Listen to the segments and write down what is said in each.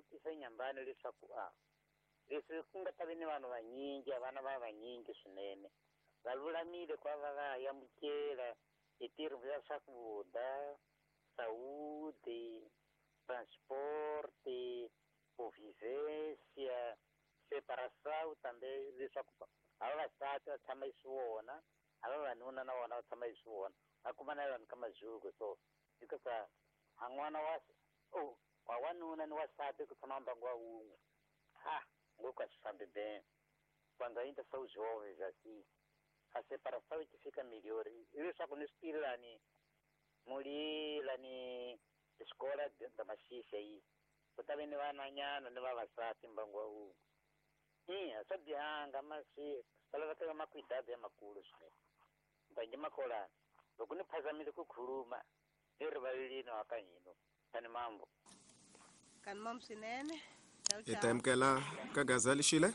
vutisa Nyambani leswaku a leswi ku nga ta vi ni vanhu vanyingi, vana va vanyingi swinene, va lulamile ku va va amukela hi tirho ya swakudya, saúde, transporte, convivência, separação também leswaku a vavasati va tshama hi swona, a vavanuna na vona va tshama hi swona, va kuma na vanhu ka mazuku. So hikuva a n'wana wa oh wa wanuna ni wasati ku tshama mbangu wa wun'we, ha ngopfu a swi fambi bem quando ainda são jovens assim, a separação é que fica melhor. Leswaku ni swi tivi lani muli lani escola da Maxixa yi ku ta ve ni vananyana ni vavasati mbangu wa wun'we. Ina swa bihanga masi va laveka makwidado ya makulu swinene. Mbangi makolana loko ni phazamile ku khuluma ni rivalelini wa ka hina kani mambo. Kani mambo swinene. Ciao, Hi ta ciao. amukela ka Gaza Lixile.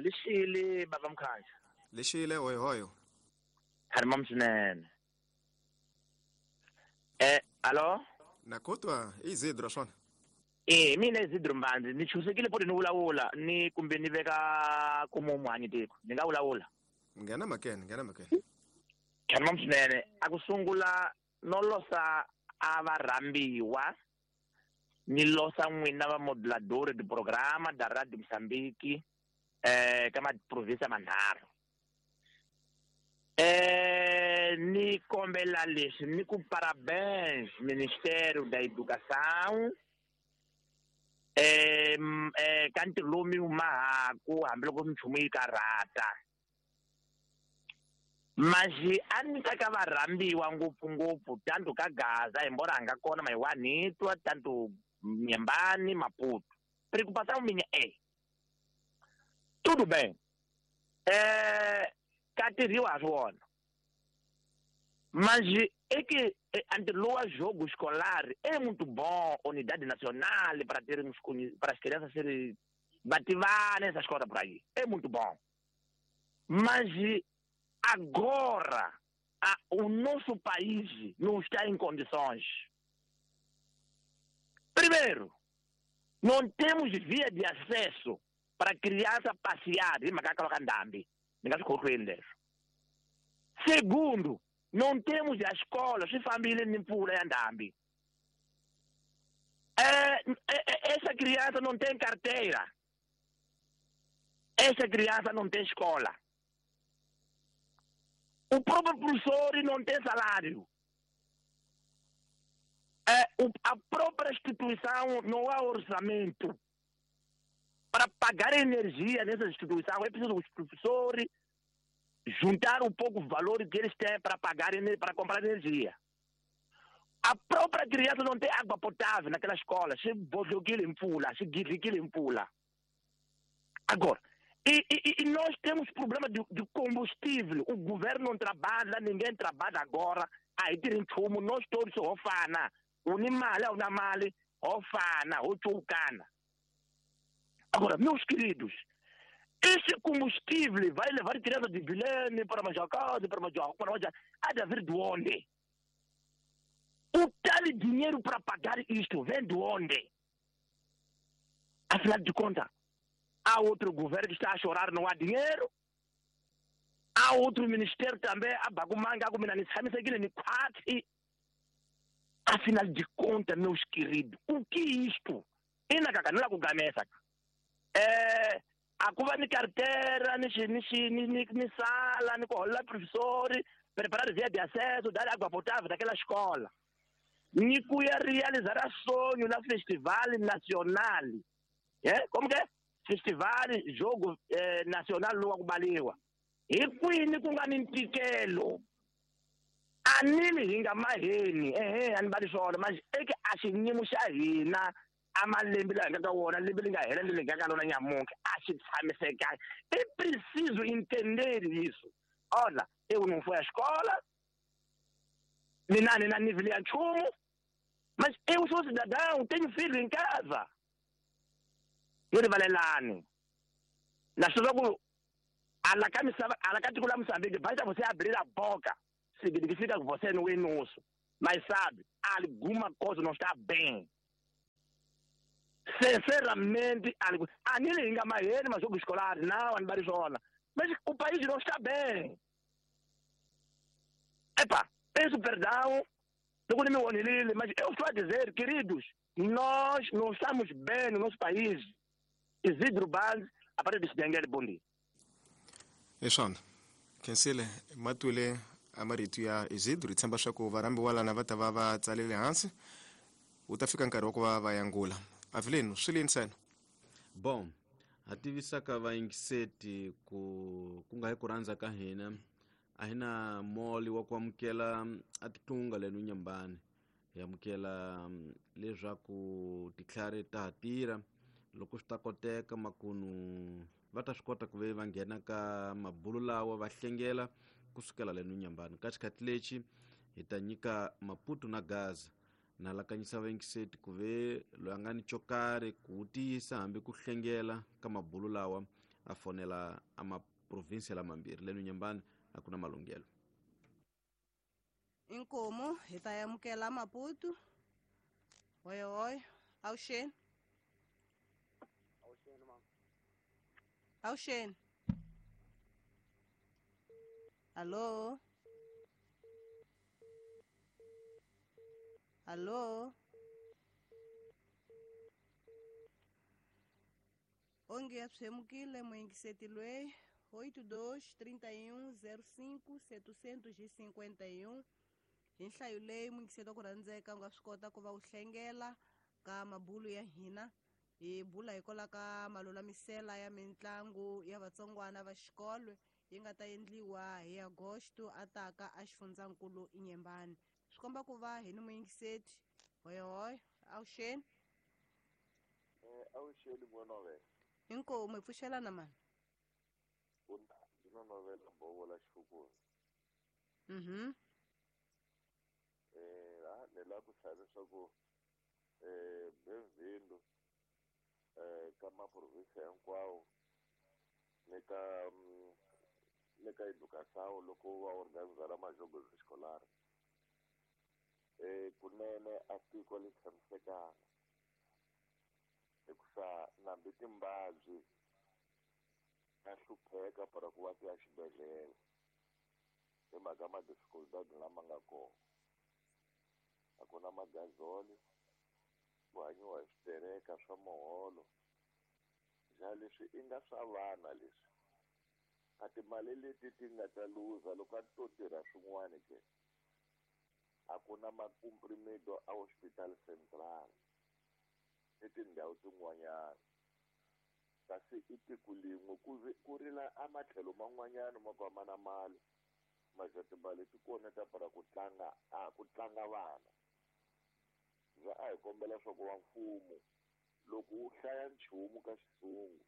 Lixile baba Mkhaya. Lixile hoyohoyo. Kani mambo swinene. Alo? Nakotwa Isidro swona. Mina Isidro Mbandzi ni chusekile poti ni vulavula ni kumbe ni veka ku muhanyi tiko. Ni nga vulavula. Nghena makene, nghena makene. Kani mambo swinene. A ku sungula no losa a va rhambiwa ni losa n'wina va modulador de programa da Radio Mozambique ka ma province manharhu. Ni kombela leswi ni ku parabéns Ministério da Educação ka ntirho lowu mi wu mahaku hambiloko minchumu yi karhata. Mas a ni ta ka va rhambiwa ngopfungopfu tanto ka Gaza hi mbora nga kona Mayiwanitwa tanto Nyembani Maputo. Preocupação minha é tudo bem. Ka tirhiwa swona. Mas é que ntirho lowu wa jogo escolar é muito bom, unidade nacional para termos para as crianças serem bativana essas coisas por aí. É muito bom. Mas agora o nosso país não está em condições. Primeiro, não temos via de acesso para criança passear em Macaca Ndambi. Segundo, não temos a escola, se família nem pula em Ndambi. Essa criança não tem carteira. Essa criança não tem escola. O próprio professor não tem salário. A própria instituição não há orçamento. Para pagar energia nessa instituição, é preciso os professores juntar um pouco o valor que eles têm para pagar, para comprar energia. A própria criança não tem água potável naquela escola. Se bodokile mpula, se gidlikile mpula. Agora, e nós temos problema de combustível. O governo não trabalha, ninguém trabalha agora. Aí tem um nós todos ofana. Unimali, unamali, ofana, ochucana. Agora, meus queridos, esse combustível vai levar criança de Bilene para Majacá, para Majacá, para Majacá, há de haver de onde? O tal dinheiro para pagar isto vem de onde? Afinal de contas, há outro governo que está a chorar, não há dinheiro. Há outro ministério também, a Bagumanga, a Guminani. Afinal de contas, meus queridos, o que é isto? E na cacanula com gamesa. A cuba ni carteira, ni sala, ni colar professor, preparar via de acesso, dar água potável daquela escola. Ni cuia realizar sonho na Festival Nacional. Como que é? Festival Jogo Nacional Lua Kubaliwa. E kwini kungani ntikelo. Anili hinga maheni, anibali swona, mas eke ashinyimo xa hina amalembe lawa hi nga ka wona, lembe li nga hela ni le nga ka lona nyamuntlha, a xi tshamisekanga. É preciso entender isso. Olha, eu não fui à escola, nem na nível ya nchumu, mas eu sou cidadão, tenho filho em casa. Ni rivalelani. Naswona ku ala ka misava, ala ka tiko la Mozambique, basta você abrir a boca, significa que você não é nosso. Mas sabe, alguma coisa não está bem. Sinceramente, a ni li nga maheni majogo escolares, não, a ni mas o país não está bem. Epa, peço perdão, mas eu estou a dizer, queridos, nós não estamos bem no nosso país. Isidro Band, a partir de Daniel Bondi. Eshana, kensile matwile amarito ya Isidro tshemba swa varambi walana va ta va va tsalele hansi u ta fika nkarhi wa ku va va yangula. Avelino, swi le ntsena. Bom, ha tivisaka vayingiseti ku nga hi ku rhandza ka hina a hi na moli wa ku amukela a titlunga leno Nyambani. Hi amukela leswaku titlhari ta ha tirha loko swi ta koteka makunu va ta swi kota ku ve va nghena ka mabulu lawa va hlengela kusukela leno Nyambani. Ka xikhathi lexi hi ta nyika Maputo na Gaza na lakanyisa vayingiseti ku ve loyi a nga ni xo karhi ku tiyisa hambi ku hlengela ka mabulu lawa a fonela a maprovinsia lamambirhi leno Nyambani a ku na malunghelo. Inkomo hi ta amukela Maputo. Hoyohoyo, awuxeni. Awuxeni mama. Awuxeni. Allo. Allo. Onge ya pshemukile muyingiseti loyi 82 31 05 751 hi nhlayo leyi muyingiseti wa ku rhandzeka u nga swi kota ku va u hlengela ka mabulu ya hina hi bula hikwalaho ka malulamisela ya mitlangu ya vatsongwana va xikolo yi nga ta endliwa hi Agosto a taka a xifundzankulu Inyembani. Swi komba ku va hi ni muyingiseti. Hoyohoyo, awuxeni. Awuxeni n'wana. Inkomu hi pfuxelana mani. Ndzi bovola xifukweni. Ni lava ku hlaya leswaku bem-vindo ka maprovinsia hinkwawo ni ka educação loko va organizara majogo escolar. Kunene a tiko li tshamisekanga hikusa nambi timbabyi ta hlupheka para ku va ti ya xibedhlele hi mhaka ma-dificultad lama nga kona. A ku na magazoli, ku hanyiwa hi switereka swa muholo. Ja leswi i nga swa vana leswi a timali leti ti nga ta luza loko a to tirha swin'wana ke. A ku na macomprimido a hospital central ni tindhawu tin'wanyana kasi i tiko lin'we ku rila a matlhelo man'wanyana ma ku a ma na mali maja timali ti kona ta para ku tlanga a ku tlanga vana. Ja a hi kombela swa ku va mfumo loko wu hlaya nchumu ka xitsungu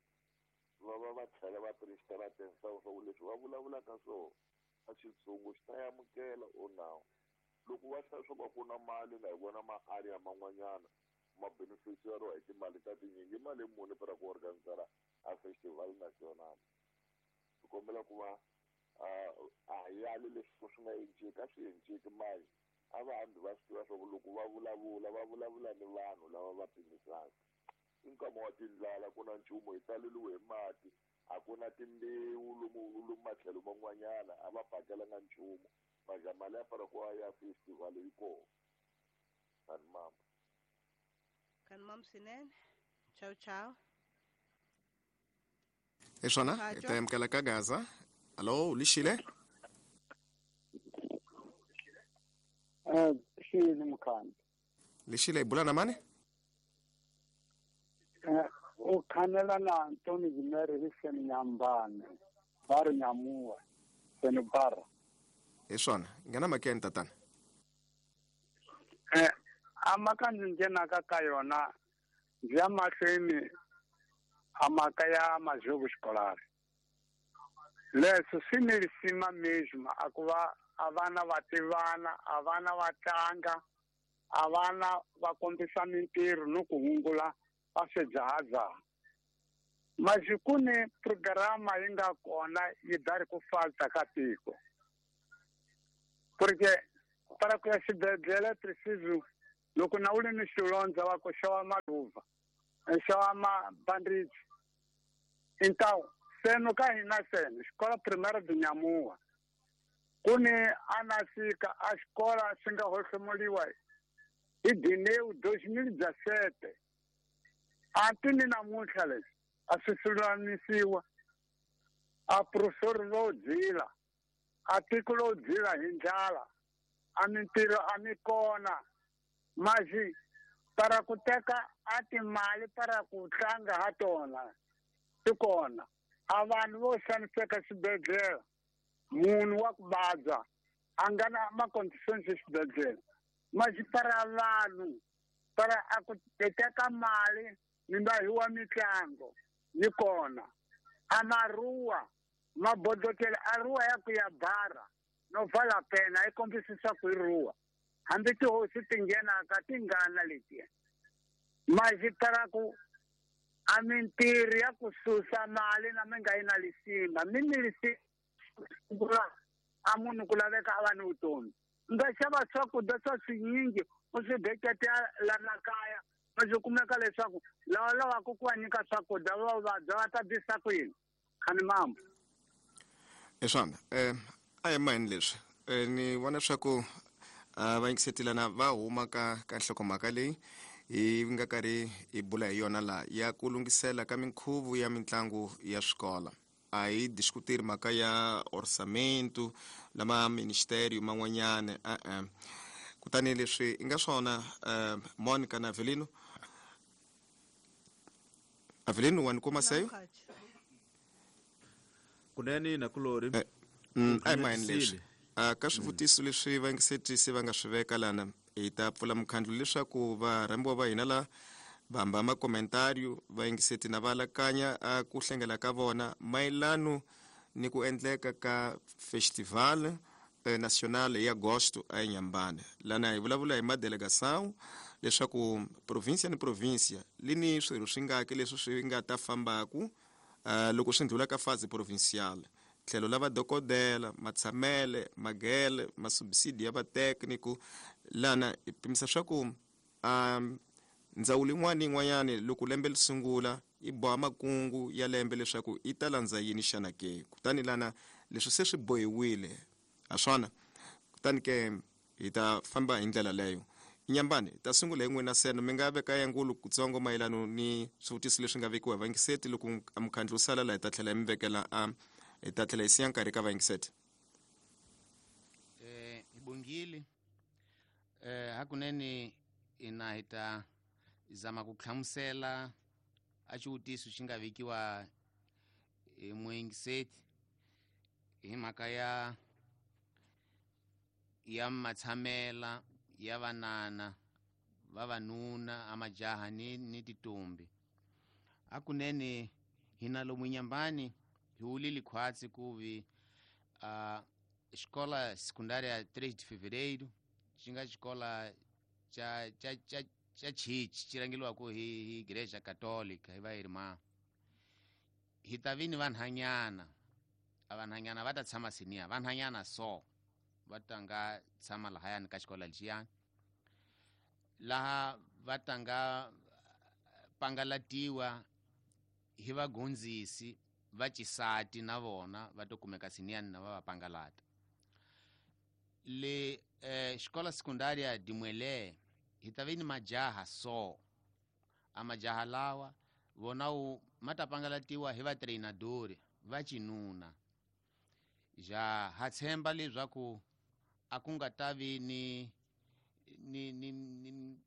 va va tlhela va prestela attention swa ku leswi va vulavulaka swona a xitsungu xi ta amukela o nawu. Loko va hlaya swa ku a ku na mali na hi vona ma-area man'wanyana ma beneficiary hi timali ta tinyingi mali muni para ku organizara a festival national. Hi kombela ku va a yali leswi swi nga enciki a swi enciki mali a va hambi va swi tiva swa ku loko va vulavula va vulavula ni vanhu lava va pimisaka. I nkama wa tindlala ku na nchumu hi taleliwe hi mati a ku na timbewu lomu matlhelo man'wanyana a va pakelanga nchumu maja mali ya para ku ya festival yi kona. Kani mama. Kani mama swinene. Ciao ciao. Hi swona hi ta amukela ka Gaza. Allo, lixile? Xini mkhana. Lixile hi bula na mani? U khanela na Antoni Zimere hi seni Nyambane, va ri Nyamuwa, seni Bara. Hi swona, nghena makeni tatana. A mhaka ndzi nghenaka ka yona ndzi ya mahlweni a mhaka ya majogo escolar. Leswi swi ni risima mesmo a ku va a vana va tivana, a vana va tlanga, a vana va kombisa mintirho no ku hungula va swidzahadzaha. Masi ku ni programa yi nga kona yi dari ku falta ka tiko. Porque para ku ya xibedhlele preciso loko na u ri ni xilondza va ku xava maluva. Hi xava mabandhichi. Então, seno ka hina seno, xikola primária de Nyamuwa. Ku ni anasika a xikola xi nga hohlomuliwa hi Dineu 2017. Anti ni namuntlha leswi a swi lulamisiwa. A professor lo dzila, a tiko lo dzila hi ndlala, a mintirho a mi kona. Mazi para ku teka a timali para ku tlanga ha tona ti kona. A vanhu vo xaniseka xibedhlele, munhu wa ku vabya a nga na ma-conditions exibedhlele. Mazi para vanhu para a ku teka mali mi nga hiwa mitlango yi kona. A maruwa mabodokele a ruwa ya ku ya bara no vala pena yi kombisisa ku yi ruwa. Hambi tihosi ti nghenaka ti ngana letiya. Mazi para ku a mintirho ya ku susa mali na mi nga yi na lisima mi ni lisima a munhu ku laveka a va ni vutomi. U nga xava swakudya swa swinyingi u swi beketela lana kaya, ma swi kumeka leswaku lava lavaka ku va nyika swakudya va vabya va ta bisa ku yini? Khani mambo. Eswana, a hi mahini leswi. Ni vona leswaku va yingisetelana va huma ka nhlokomhaka leyi hi nga karhi hi bula hi yona laha ya ku lunghisela ka minkhuvo ya mitlangu ya swikolo. A hi diskuteri mhaka ya orçamento lama ministerio man'wanyana e-e. Kutani leswi i nga swona Monica na Avelino. Avelino wa ni kuma seyo? Kunene na kulori. A hi mahini leswi. Ka swivutiso leswi vayingisetisi va nga swi veka lana hi ta pfula mukhandlu leswaku varhambiwa va hina la vamba makomentario vayingiseti na va alakanya ku hlengela ka vona mayelano ni ku endleka ka festival national ya agosto a Inhambane. Lana hi vulavula hi madelegação leswaku província ni província li ni swirho swi ngaki leswi swi nga ta fambaku loko swi ndlula ka fase provincial. Tlhelo la vadokodela, matshamele, magele, masubsidi ya vatécnico. Lana hi pimisa swa ku ndzawulo yin'wana ni yin'wanyana loko lembe li sungula yi boha makungu ya lembe leswaku yi ta landza yini xana ke. Kutani lana leswi se swi bohiwile ha swona, kutani ke hi ta famba hi ndlela leyo. Inhambane, hi ta sungula hi n'wina seno mi nga veka yangulu kutsongo mayelano ni swivutiso leswi nga vekiwa hi vayingiseti. Loko mukhandlu wu sala laha hi ta tlhela hi mi vekela a hi ta tlhela hi siya nkarhi ka vayingiseti. Hi bongile. Hakunene ina hi ta zama ku hlamusela a xivutiso xi nga vekiwa hi muyingiseti hi mhaka ya matshamela ya vanana vavanuna a majaha ni titombi. Hakunene hina lomu Inhambane hi wulile khwatsi ku vi xikola secundária 3 de Fevereiro xi nga xikola cha chichi xi rhangeriwaka hi Igreja Católica hi va irmã. Hi ta vi ni vanhanyana, a vanhanyana va ta tshama senior, vanhanyana so va ta nga tshama lahayani ka xikola lexiyani, laha va ta nga pangalatiwa hi vagondzisi va xisati na vona va to kumeka siniyani na va va pangalata. Le xikola secundária de Muelé hi ta vi ni majaha so, a majaha lawa vona wu ma ta pangalatiwa hi vatreinadori va xinuna. Ja ha tshemba leswaku a ku nga ta vi ni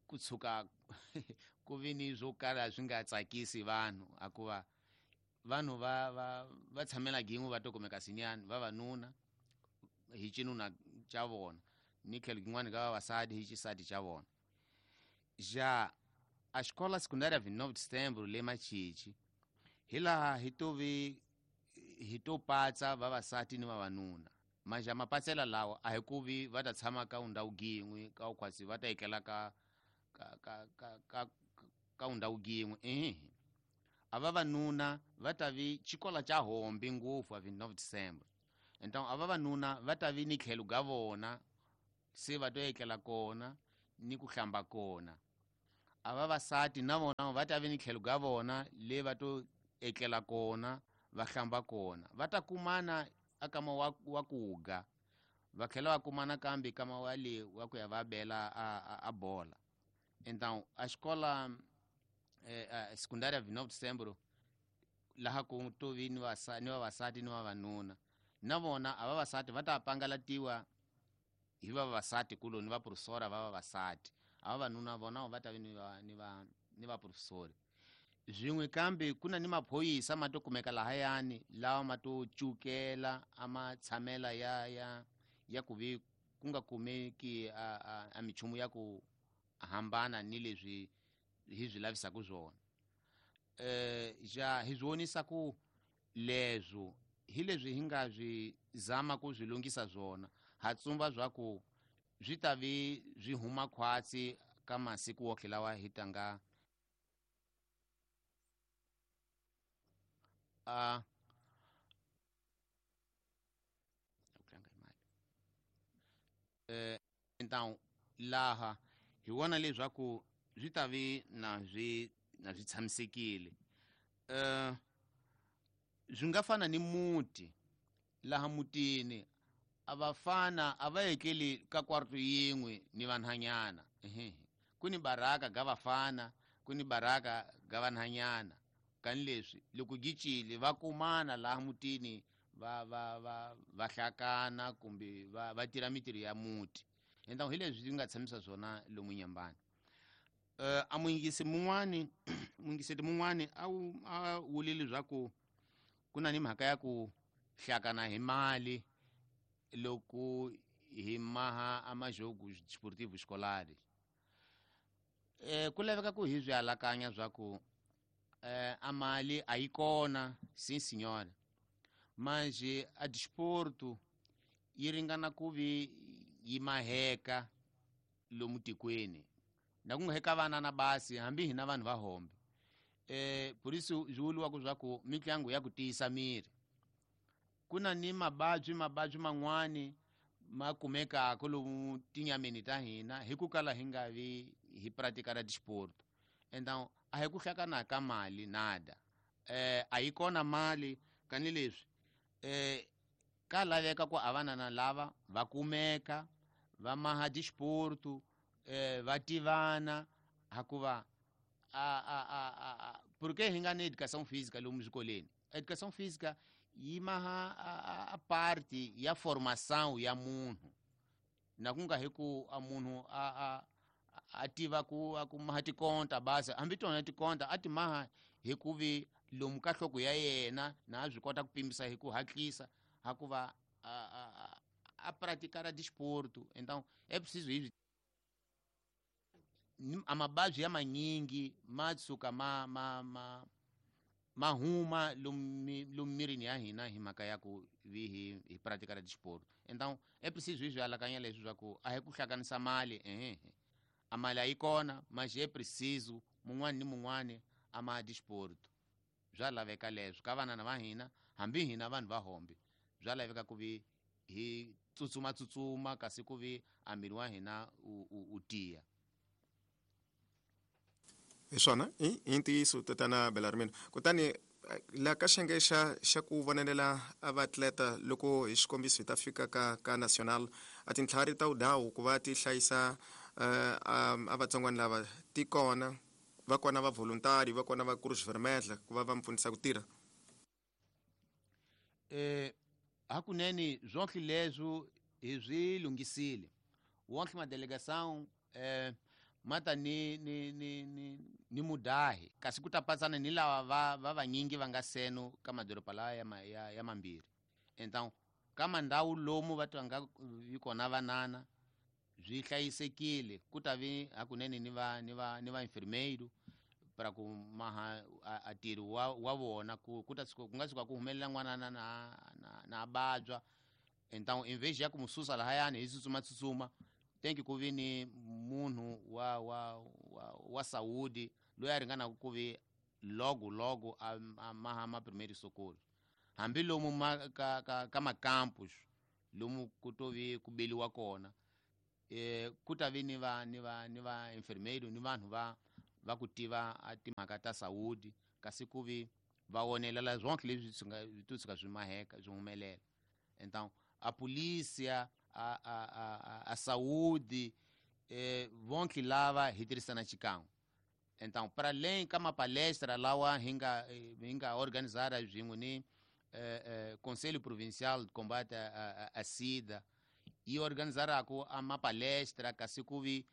ku tshuka ku vi ni swo kala swi nga tsakisi vanhu, hikuva vanhu va tshamela gin'we va to kumeka siniyani vavanuna hi xinuna xa vona ni tlhelo gin'wana ka vavasati hi xisati xa vona. Ja a xikola secundária 29 de Setembro le Machichi hi laha hi to vi hi to patsa vavasati ni vavanuna. Maja mapatsela lawa a hi ku vi va ta tshama ka ndhawu yin'we ka ukhwasi va ta etlela ka ndhawu yin'we. Ehe, a vavanuna va ta vi xikola xa hombi ngopfu a 29 December. Então a vavanuna va ta vi ni tlhelo ga vona se va to etlela kona ni ku hlamba kona. A vavasati na vona va ta ve ni tlhelo ka vona le va to etlela kona, va hlamba kona, va ta kumana a kama wa kuga, va tlhela va kumana kambe kama wa le wa ku ya va bela a bola. Então a escola secundária 29 de Setembro laha ku to vi ni vavasati ni vavanuna, na vona a vavasati va ta pangalatiwa hi vavasati kulo ni vaprofesora va vavasati, a vavanuna vona va ta vi ni vaprofesori. Swin'we kambe ku na ni maphorisa ma to kumeka lahayani lawa ma to cukela a ma tshamela ya ku vi ku nga kumeki a minchumu ya ku hambana ni leswi hi swi lavisaka swona. Ja hi swi vonisa ku leswo hi leswi hi nga swi zama ku swi lunghisa swona, ha tsumba swa ku swi ta vi swi huma khwatsi ka masiku wohle lawa hi tanga então laha hi vona leswaku swi ta vi na swi tshamisekile. Swi nga fana ni muti, laha mutini a vafana a va etleli ka kwarto yin'we ni vanhanyana. Ku ni baraka ga vafana, ku ni baraka ga vanhanyana. Kani leswi loko gicile va kumana laha mutini va hlakana kumbe va tirha mitirho ya muti. Então hi leswi nga tshamisa swona lomu Nyambani. A muyingisi mun'wani muyingiseti mun'wani a wulile leswaku ku na ni mhaka ya ku hlakana hi mali loko hi maha a majogo desportivo escolar. Ku laveka ku hi swi alakanya swa ku a mali a yi kona, sim senhora, mas a desporto yi ringana ku vi yi maheka lomu tikweni, na ku nga heka vana na basi hambi hina vanhu va hombe. Por isso swi vuriwaka swa ku mitlangu ya ku tiyisa miri. Ku na ni mavabyi man'wani ma kumekaka lomu tinyameni ta hina hi ku kala hi nga vi hi pratika ra desporto. Então a hi ku hlakana ka mali nada, a yi kona mali kani leswi ka laveka ku a vanana lava va kumeka va maha desporto, va tivana hakuva a porque hi nga ni educação física lomu swikolweni. Educação física yi maha a parte ya formação ya munhu, na ku nga hi ku a munhu a tiva ku a ku maha tikonta basi, hambi tona tikonta a ti maha hi ku vi lomu ka nhloko ya yena na a swi kota ku pimisa hi ku hatlisa hakuva a praticar desporto. Então é preciso isso. A mabavyi ya manyingi ma tshuka ma huma lomu mirini ya hina hi mhaka ya ku vi hi pratika ra desporto. Então é preciso hi swi alakanya leswi swa ku a hi ku hlanganisa mali, a mali a yi kona, mas é preciso mun'wani ni mun'wani a ma desporto. Swa laveka leswo ka vanana va hina, hambi hina vanhu va hombe, swa laveka ku vi hi tsutsuma kasi ku vi a miri wa hina u tiya. Hi swona i ntiyiso tatana Belarmino. Kutani la ka xiyenge xa ku vonelela a vaatleta loko hi xikombiso hi ta fika ka national, a tintlhari ta udawu ku va ti hlayisa a vatsongwana lava ti kona, va kona va voluntary, va kona va Cruz Vermelha ku va va mpfunisa ku tirha. Hakunene swonke leswo hi swi lunghisile. Wonke madelegação mata ni mudahi kasi ku ta patsana ni lava va vanyingi va nga seno ka madoroba lawa ya mambirhi. Então ka mandhawu lomu va twa nga vi kona vanana swi hlayisekile, ku ta vi hakunene ni va enfermeiro para ku maha a tirhi wa vona ku ta ku nga tshuka ku humelela n'wana na vabya. Então em vez ya ku mususa lahayani hi tsutsuma tem que ku vi ni munhu wa saúde loyi a ringanaka ku vi logo a maha ma primeiro socorro, hambi lomu ka macampus lomu ku to vi ku beliwa kona, ku ta vi ni va enfermeiro ni vanhu va va ku tiva a timhaka ta saúde kasi ku vi va onelela zonke leswi swi nga swi tshuka swi maheka swi humelela. Então a polícia, a saúde, vonke lava hi tirhisana xikan'we. Então para além ka mapalestra lawa hi nga organizara swin'we ni Conselho Provincial de Combate a SIDA yi organizaraku a mapalestra kasi ku vi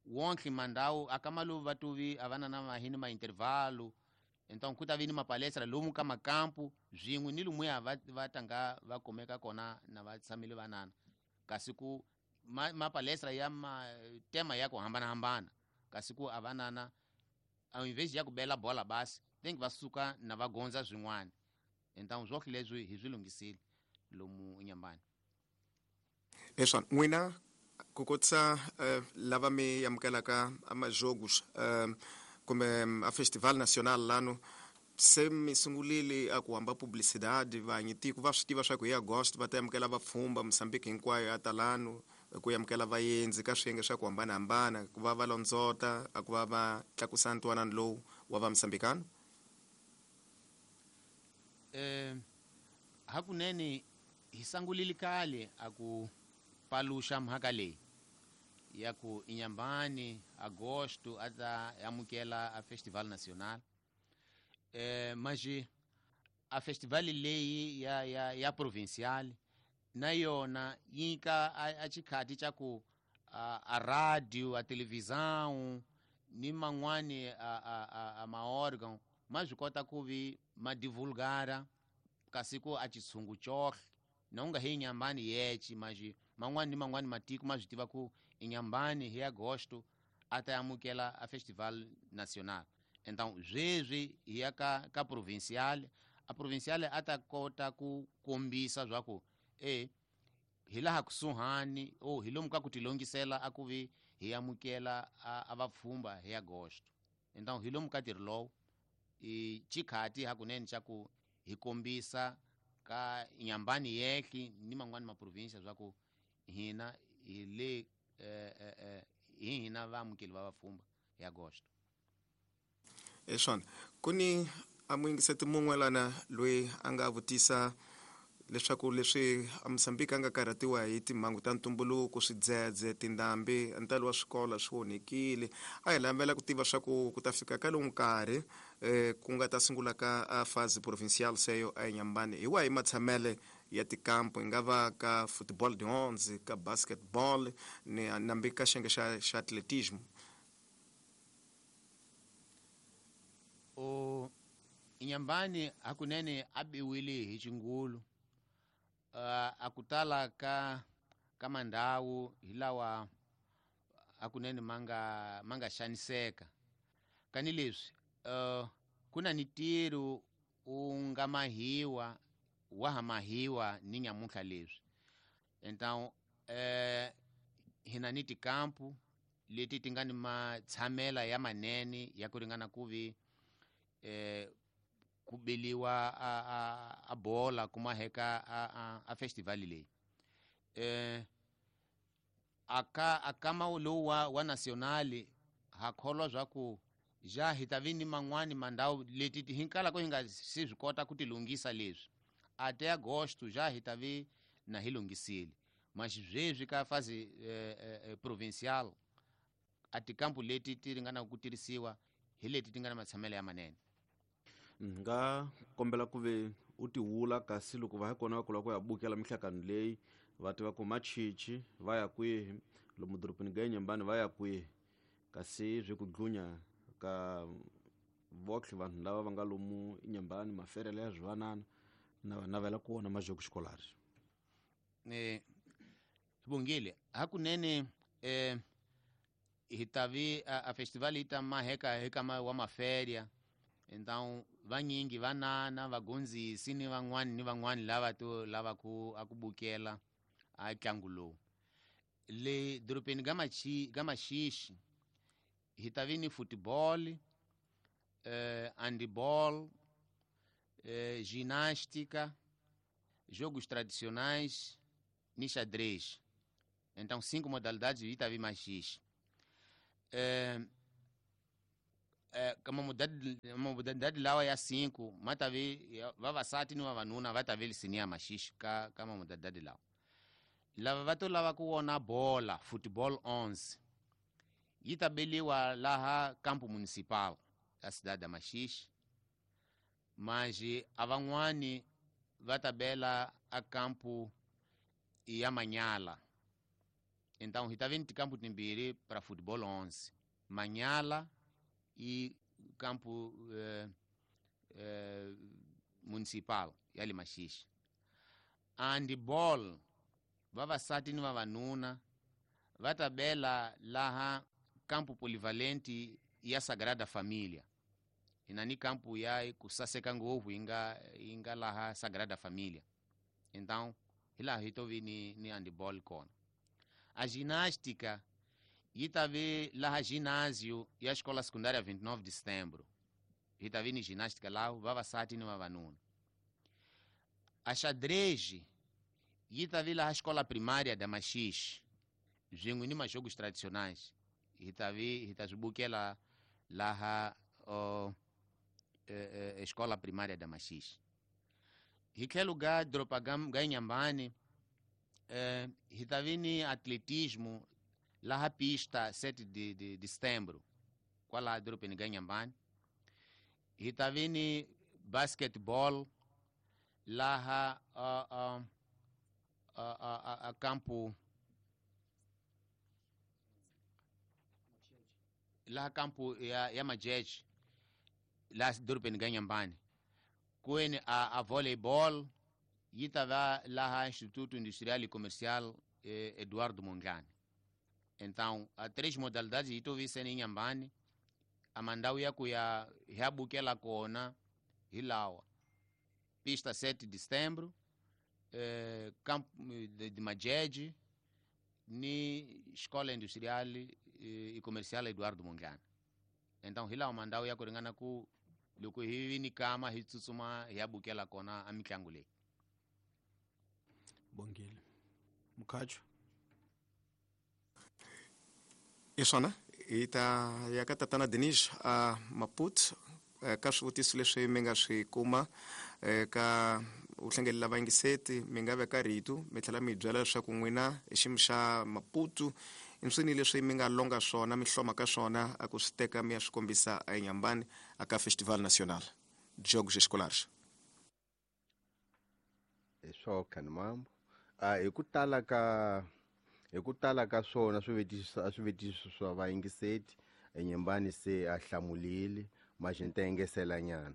wonke mandawu akamalu va tuvi a va na na mahini ma intervalo. Então ku ta vi ni mapalestra lomu ka makampu swin'we ni lumuya va tanga va kumeka kona na va tshamile vanana kasi ku mapalestra ya tema ya ku hambanahambana kasi ku a vanana ao invés ya ku bela bola basi tem que va suka na va gondza swin'wana. Então swonke leswi hi swi lunghisile lomu Inhambane. Eswona n'wina ku kotisa lava mi amukelaka amajogos kumbe a festival nacional lano se mi sungulile a ku hamba publicidade vanyi tiko va swi tiva swa ku hi Agosto va ta amukela vapfhumba Mozambique hinkwayo ya talano ku amukela vaendzi ka swiyenge swa ku hambanahambana ku va va londzota a ku va va tlakusa ntwanano lowu wa va Mozambicano. Hakunene hi sangulile kale a ku paluxa mhaka leyi ya ku Inhambane Agosto a ta amukela a Festival Nacional. Mas a festival leyi ya provincial na yona yi nyika a xikhati xa ku a radio, a televisão ni man'wani a maórgão ma swi kota ku vi ma divulgara kasi ku a xitshungu cohle na u nga hi Inhambane yece mas man'wani ni man'wani matiko ma swi tiva ku Inhambane hi Agosto a ta amukela a Festival Nacional. Então sweswi hi ya ka provincial, a provincial a ta kota ku kombisa swa ku hi laha kusuhani o hi lomu ka ku tilongisela a ku vi hi amukela a vapfhumba hi Agosto. Então hi lomu ka ntirho lowu i xikhati hakunene xa ku hi kombisa ka Inhambane yehli ni man'wani maprovinsia swa ku hina hi le hi hina vaamukeli va vapfhumba hi Agosto. Eswona ku ni a muyingiseti mun'we lana loyi a nga vutisa leswaku leswi a Mozambique a nga karhatiwa hi timhangu ta ntumbuluko, swidzedze, tindhambi, ntalo wa swikolo swi onhekile. A hi lavela ku tiva swa ku ku ta fika ka lowu nkarhi ku nga ta sungula ka a fase provincial seyo a Inhambane hi wahi matshamele ya tikampo, hi nga va ka football de onze, ka basketball ni nambi ka xiyenge xa atletismo. O Inhambane hakunene a biwile hi xingulu. A ku tala ka mandhawu hi lawa hakunene ma nga xaniseka kani leswi ku na ni ntirho wu nga mahiwa wa ha mahiwa ni nyamuntlha leswi. Então hi na ni tikampu leti ti nga ni matshamela ya manene ya ku ringana ku vi ku beliwa a bola ku maheka a festival leyi. Aka akama lowu wa nacional ha kholwa swa ku ja hi ta vi ni man'wani mandhawu leti hi kalaka hi nga se swi kota ku ti lunghisa leswi ate Agosto ja hi ta vi na hi lunghisile. Mas sweswi ka fase provincial a tikampu leti ti ringanaka ku tirhisiwa hi leti ti nga na matshamelo ya manene. Nga kombela ku ve u tiwula kasi loko va ha kona va kula ku ya bukela mihlakano leyi va tiva ku machichi va ya kwihi lomu dorobeni ga Inhambane va ya kwihi kasi swi ku dlunya ka votlhe vanhu lava va nga lomu Inhambane maferele ya swivanana na va navela ku vona majoko xikolari. Bongile hakunene hi ta vi a festival yi ta maheka hi ka wa maferia. Então vanyingi vanana vagondzisi ni van'wani ni van'wani lava to lava ku a ku bukela a ntlangu lowu le dorobeni ga Maxixi hi ta vi ni football, handball, ginástica, jogos tradicionais ni xadrez. Então 5 modalidades hi ta vi Maxixi. Ka mamodalidade lawa ya 5 ma ta ve vavasati ni vavanuna va ta ve lisini ya Maxixi ka mamodalidade lawa. Lava va to lava ku vona bola football 11 yi ta beliwa laha campo municipal ya cidade ya Maxixi, manji a van'wani va ta bela a campo ya Manyala. Então hi ta ve ni tikampo timbirhi para football 11, Manyala e campo municipal ya le Maxixi. Handball vavasati ni vavanuna va ta bela laha campo polivalente ya Sagrada Família. Ina ni campo ya kusaseka ngopfu inga laha Sagrada Família. Então hi laha hi to vi ni handball kona. A ginástica yi ta ve laha ginásio ya escola secundária 29 de setembro. Hi ta vi ni ginástica lá vavasati ni vavanuna. A xadrez yi ta vi laha escola primária da Maxixi, swin'we ni majogos tradicionais. Hi ta swi bukela laha escola primária da Maxixi. Hi tlhelo ga doroba ga Inhambane, hi ta vi ni atletismo laha pista 7 de setembro, kwala dorobeni ga Inhambane. Hi ta vi ni basketball laha a campo laha campo ya Majeje laha dorobeni ga Inhambane. Kweni a volleyball yi ta va laha Instituto Industrial e Comercial Eduardo Mondlane. Então a 3 modalidades yi to vi sene Inhambane. A mandau ya ku ya hi bukela kona hi lawa pista 7 de setembro, campo de Majeje ni Escola Industrial e Comercial Eduardo Mondlane. Então hi lawa mandau ya ku ringana ku loko hi ni kama hi tsutsuma hi ya bukela kona a mitlangu leyi. Bongile Mukhacho. I swona hi ta ya ka tatana Denis a Maputo ka swivutiso leswi mi nga swi kuma ka u hlengelela vayingiseti, mi nga veka rito mi tlhela mi byela leswaku n'wina hi xiyimo xa Maputo i swini leswi mi nga longa swona mi hloma ka swona a ku swi teka mi ya swi kombisa eNyambani aka Festival Nacional Jogos Escolares. Hi swo khani mambo hi ku tala ka swona swivutiso swa vayingiseti eNyambani se a hlamulile mas ni ta engesela nyana.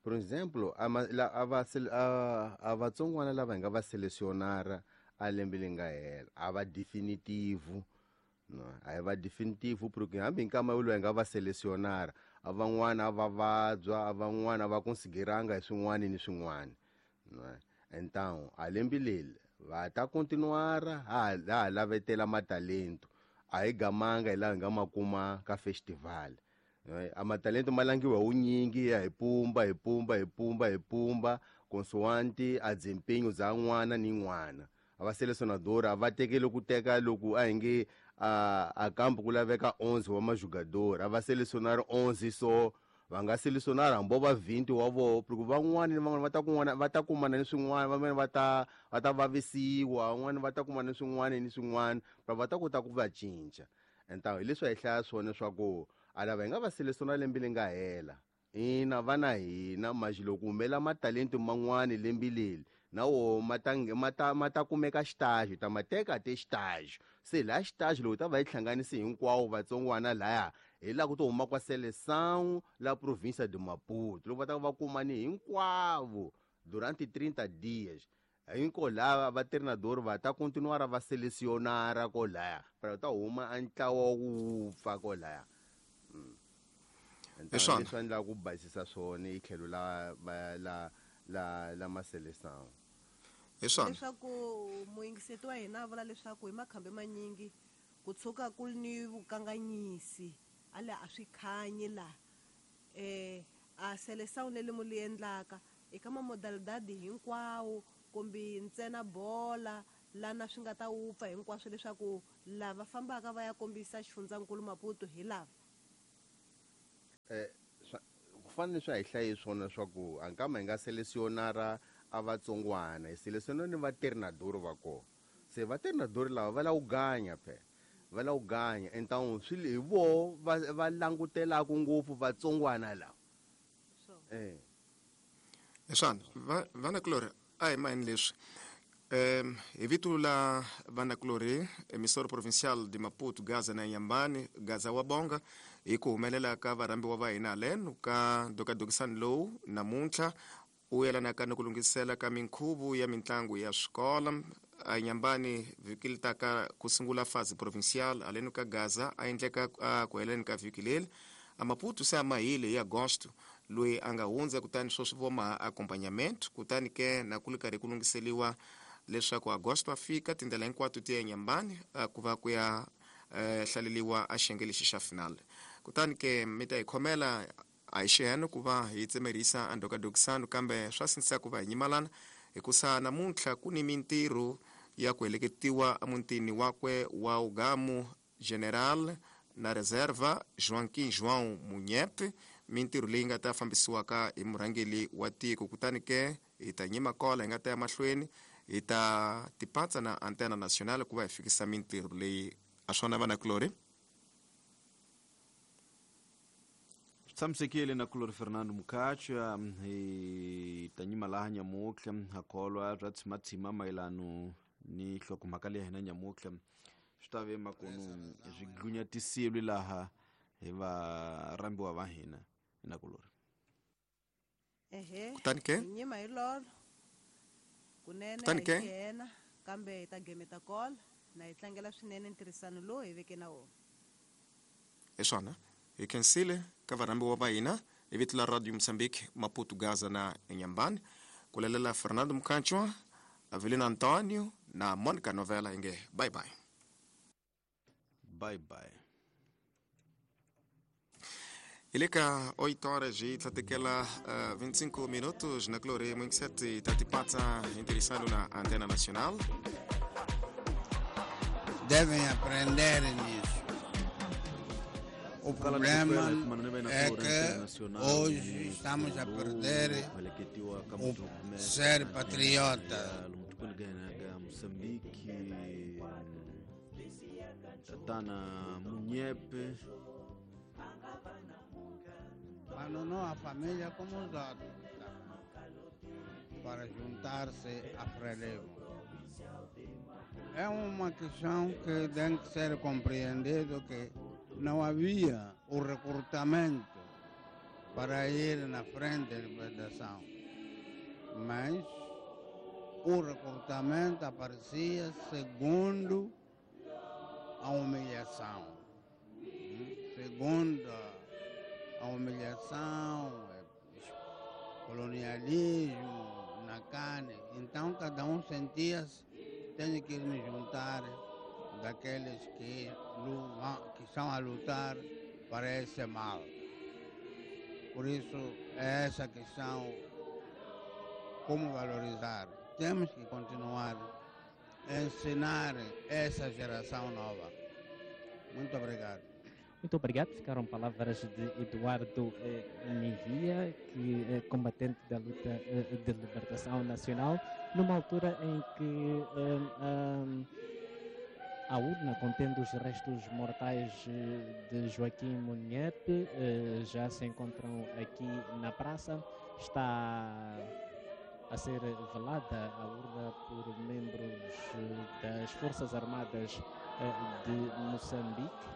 Por exemplo, a vatsongwana lava hi nga va selecionara a lembe leri nga hela a va definitivo. No, a hi va definitivo porque hambi nkama lowu hi nga va selecionara a van'wana a va vabya, a van'wana a va consideranga hi swin'wana ni swin'wana. No, então a lembe leri va ta continuara ha lavetela matalento. A hi gamanga hi laha hi nga ma kuma ka festival. A matalento ma langiwa wunyingi ya hi pumba hi pumba hi pumba hi pumba consoante a desempenho za n'wana ni n'wana. A va selecionador a va tekeli ku teka loko a hi nge a kampo ku laveka 11 wa majogador, a va selecionar 11 so va nga selecionar hambi va 20 wa voho porque van'wana ni van'wana va ta kumana ni swin'wana, van'wana va ta vavisiwa, van'wana va ta kumana ni swin'wana ni swin'wana, va ta kota ku va cinca. Então hi leswi hi hlaya swona swa ku a lava hi nga va selecionar lembe leri nga hela ina va na hina mas loko humela matalento man'wana lembe leri na wo ma ta kumeka xitaxo, ta ma teka te xitaxo. Se laha xitaxo loko ta va yi hlanganisi hinkwavo vatsongwana laya hi laha ku to huma kwa seleção la província de Maputo, loko va ta va kumani hinkwavo durante 30 dias. Hinko lava va treinador va ta continuar va selecionar ko laya para ta huma a ntlawa wu pfa ko laya. Então leswi endla ku basisa swona hi tlhelo la maseleção. Leswaku muyingiseti wa hina a vula leswaku hi makhambi manyingi ku tshuka ku ni vukanganyisi a le a swi khanyi la a seleção leri mu li endlaka eka mamodalidade hinkwawo kumbe ntsena bola lana swi nga ta wupfa hinkwaswo leswaku lava fambaka va ya kombisa xifundzankulu Maputo hi lava. fana leswi a hi hlaye swona swa ku a nkama hi nga selesionara a vatsongwana hi selesiona ni vaterrinador va kona. Se vaterrinador lava va lava ku ganya phela, va lava ku ganya então swi hi voho va langutelaku ngopfu vatsongwana lava. Leswana vanakulori a hi mahini leswi hi vito la vanakulori emissora provincial de Maputo Gaza na Inhambane Gaza wa Bonga hi ku humelela ka varhambiwa va hina haleno ka dokadokisani lowu namuntlha u yelanaka ni ku lunghisela ka minkhuvo ya mitlangu ya swikolo a Inhambane vhiki li taka ku sungula fase provincial haleno ka Gaza a endleka ku heleni ka vhiki leri a Maputo se a mahile hi Agosto loyi a nga hundza kutani sweswi vo maha accompagnamento kutani ke na ku li karhi ku lunghiseliwa leswaku Agosto a fika tindlela hinkwato ti ya Inhambane ku va ku ya hlaleliwa a xiyenge lexi xa final. Kutani ke mi ta hi khomela a hi xiheno ku va hi tsemerisa a ndokadokisano kambe swa sindzisa ku va hi nyimalana hikusa namuntlha ku ni mintirho ya ku heleketiwa emutini wakwe wa Ugamu General na Reserva Joaquim João Munyepe, mintirho leyi nga ta fambisiwaka hi murhangeri wa tiko. Kutani ke hi ta nyima kola hi nga ta ya mahlweni hi ta tipatsa na Antena Nacional ku va hi fikisa mintirho leyi. A swona vanakulori? Swi tshamisekile na kulori Fernando Mukhacha hi ta nyima laha nyamutlha ha kholwa bya tshimatshima mayelano ni nhlokomhaka leyi hina nyamutlha swi ta ve makunu swi dlunyatisiwe laha hi varhambiwa va hina na kulori. Ehe. Kutani ke? Hi nyima hi lolo. Kunene Kutani ke? hi yena kambe hi ta gemeta kola na hi tlangela swinene ntirhisano lowu hi veke na wona. Hi swona hi khensile ka varhambiwa va hina hi vito la Radio Mozambique Maputo Gaza na Inhambane ku lalela Fernando Mukhanchwa, Avelino Antonio na Monica Novela inge bye bye. Bye bye. Hi le ka 8 horas hi tlhatekela 25 minutos na Glória 57 ta tipatsa hi ntirhisano na Antena Nacional. Devem aprender nisso. O problema é que hoje estamos a perder o ser patriota. Moçambique, Tatana Munyepe. Abandonou a família como os outros, para juntar-se a Frelimo. É uma questão que tem que ser compreendido, que não havia o recrutamento para ir na frente da libertação, mas o recrutamento aparecia segundo a humilhação, segundo a humilhação, colonialismo na carne. Então cada um sentia-se, tenho que me juntar daqueles que estão a lutar para esse mal. Por isso, é essa questão, como valorizar. Temos que continuar a ensinar essa geração nova. Muito obrigado. Muito obrigado. Ficaram palavras de Eduardo Nivia, que é combatente da luta de libertação nacional, numa altura em que a urna contendo os restos mortais de Joaquim Munyepe já se encontram aqui na praça. Está a ser velada a urna por membros das Forças Armadas de Moçambique.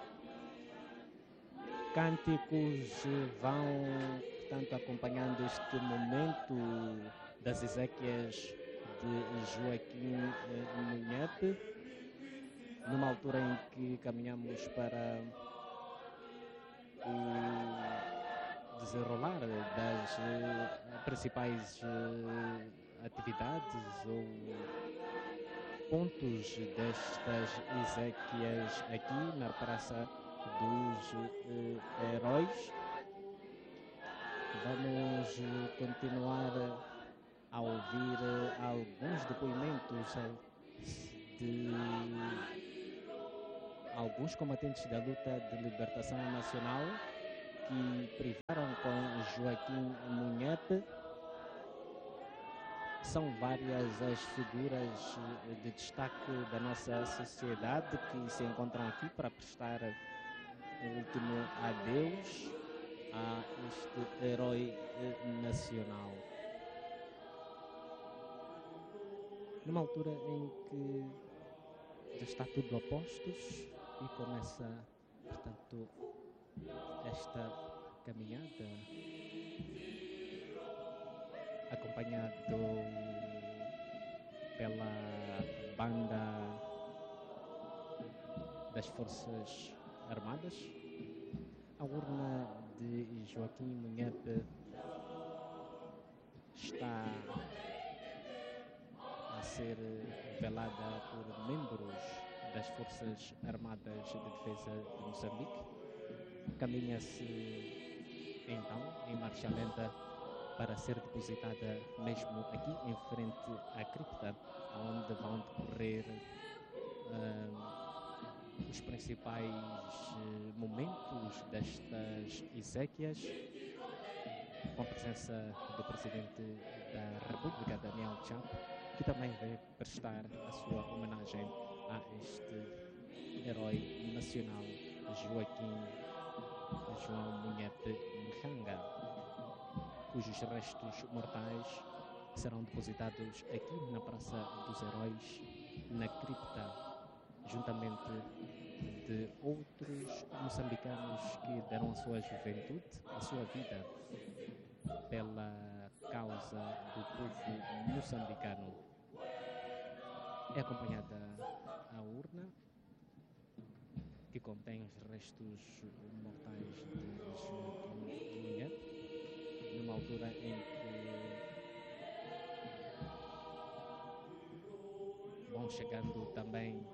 Cânticos vão, portanto, acompanhando este momento das exéquias de Joaquim Munyepe, numa altura em que caminhamos para o desenrolar das principais atividades ou pontos destas exéquias aqui na Praça dos Heróis. Vamos continuar a ouvir alguns depoimentos de alguns combatentes da luta de libertação nacional que privaram com Joaquim Munhape. São várias as figuras de destaque da nossa sociedade que se encontram aqui para prestar um último adeus a este herói nacional. Numa altura em que já está tudo a postos e começa, portanto, esta caminhada acompanhado pela banda das Forças Armadas. A urna de Joaquim Munhape está a ser velada por membros das Forças Armadas de Defesa de Moçambique. Caminha-se então em marcha lenta para ser depositada mesmo aqui em frente à cripta, onde vão decorrer os principais momentos destas exéquias, com a presença do Presidente da República, Daniel Chapo, que também veio prestar a sua homenagem a este herói nacional, Joaquim João Munhape Nhanga, cujos restos mortais serão depositados aqui na Praça dos Heróis, na cripta, juntamente de outros moçambicanos que deram a sua juventude, a sua vida, pela causa do povo moçambicano. É acompanhada a urna, que contém os restos mortais de Joaquim Munhape, numa altura em que vão chegando também